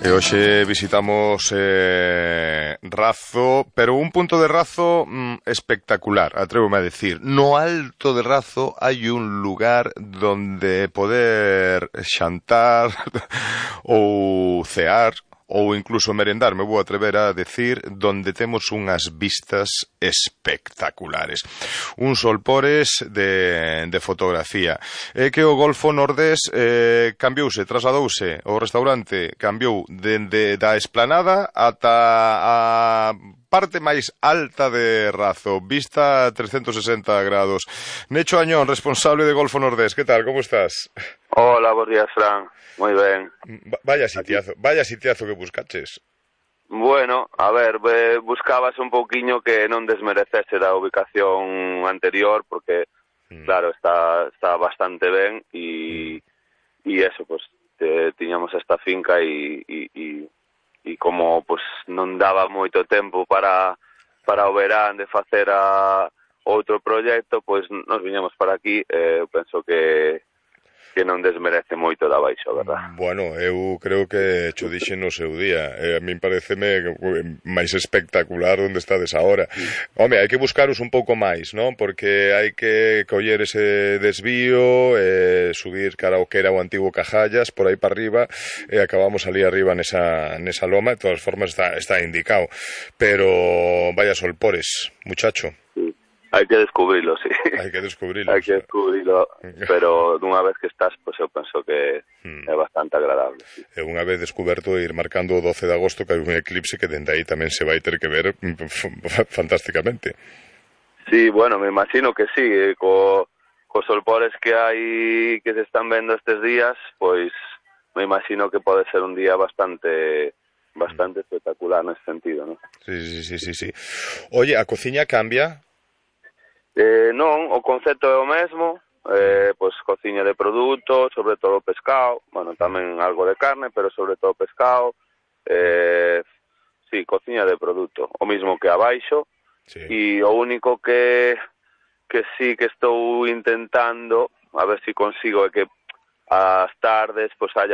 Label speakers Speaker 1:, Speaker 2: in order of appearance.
Speaker 1: E hoxe visitamos Razo, pero un punto de Razo espectacular, atrévome a decir. No alto de Razo hai un lugar donde poder xantar ou cear ou incluso merendar, me vou atrever a decir, donde temos unhas vistas espectaculares. Un solpores de fotografía. É que o Golfo Nordés cambiouse, trasladouse, o restaurante cambiou dende da esplanada ata a parte máis alta de Razo, vista 360 grados. Necho Añón, responsable de Golfo Nordés, que tal, como estás?
Speaker 2: Hola, bos días, Fran. Moi ben.
Speaker 1: Vaya sitiazo que buscaches.
Speaker 2: Bueno, a ver, buscabas un pouquiño que non desmerecese da ubicación anterior, porque, claro, está bastante ben, e eso, pues, tiñamos esta finca e como, pues, non daba moito tempo para o verán de facer outro proxecto, pues, nos viñamos para aquí, penso que non desmerece moito da baixo, verdad?
Speaker 1: Bueno, eu creo que cho dixe no seu día. A min pareceme máis espectacular onde estades agora. Home, hai que buscaros un pouco máis, non? Porque hai que coller ese desvío, subir cara ao que era o antigo Cajallas, por aí para arriba, e acabamos ali arriba nesa loma. De todas formas está indicado. Pero vaya solpores, muchacho.
Speaker 2: Sí. Hai que descubrilo, sí.
Speaker 1: Hai que descubrilo.
Speaker 2: Hai que descubrilo, pero dunha vez que estás, pues eu penso que é bastante agradable. Sí.
Speaker 1: E unha vez descuberto ir marcando o 12 de agosto que hai un eclipse que dende aí tamén se vai ter que ver fantásticamente.
Speaker 2: Sí, bueno, me imagino que sí, cos solpores que hai que se están vendo estes días, pois me imagino que pode ser un día bastante espectacular nesse sentido, ¿no?
Speaker 1: Sí. Oye, a cociña cambia?
Speaker 2: Non, o concepto é o mesmo, pois cociña de produto, sobre todo pescado, bueno, tamén algo de carne, pero sobre todo pescado, sí, cociña de produto, o mismo que abaixo,
Speaker 1: sí.
Speaker 2: E o único que sí que estou intentando, a ver se consigo, é que as tardes pois haya